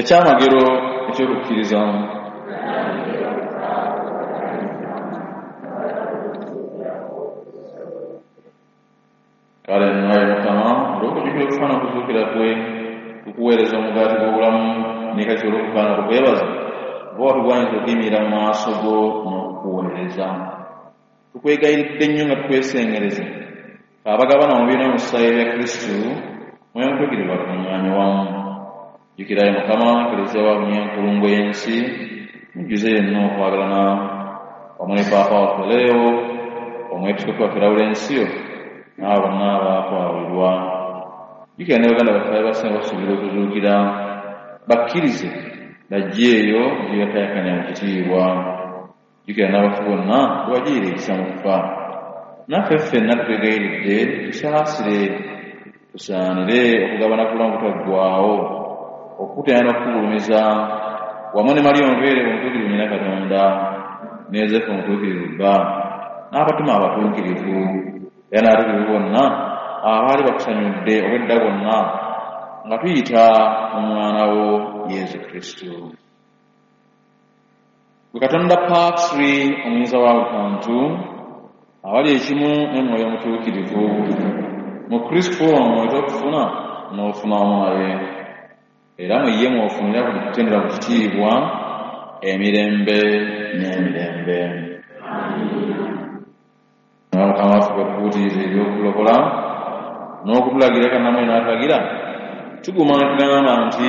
Ekyamagero ekyokukkiriza. Kale nno, ayi Mukama, olw'okujjukira okufa n'okuzuukira kwe, tukuweereza omugaati gw'obulamu ne kati olw'okufaana tukwebaza oba watugwanyiza okuyimirira mu maaso go n'okukuweereza. Tukwegayiridde nnyo nga tukwesengereza, abagabana mu mubiri n'omusaayi ebya Kristu, Mwoyo Mutuukirivu atukuŋŋaanye wamu. Jjukira, ayi Mukama, Eklezia wa bunyenkulungo y'ensi, mujjuze yenna okwagalana, wamu ne Paapa waffe Leo, Omwepiskopi waffe Lawulensiyo, n'abo bonna abaakwawulirwa. Jjukira ne baganda baffe abasinga basuubira okuzuukira, bakkirize bajje eyo gye bakayakanya mu kitiibwa. Jjukira n'abafu bonna bwe ekisa mu kufa. Naffe ffenna tukwegayiridde, tusaasire, tusaanire okugabana ku bulamu butaggwaawo, okukutenda n'okukugulumiza wamu ne Mariya omubeere omutuukirivu nnyina Katonda, ne Yozefu omutuukirivu bba, n'abatume abatuukirivu, era n'abatuukirivu bonna abaali bakusanyudde obwedda bwonna, nga tuyita mu mwana wo Yesu Kristu. Gwe Katonda Patri omuyinza wa buli kantu, abali ekimu ne Mwoyo Omutuukirivu, mu Kristu omwo ekyokufuna n'ofuna wamu naye, era mu ye mw'ofunira buli kutendera ku kitiibwa emirembe n'emirembe. Nga Mukama waffe bwe tukuutiriza eby'okulokola n'okutulagira kannamwe n'atulagira, tuguma ne tugamba nti: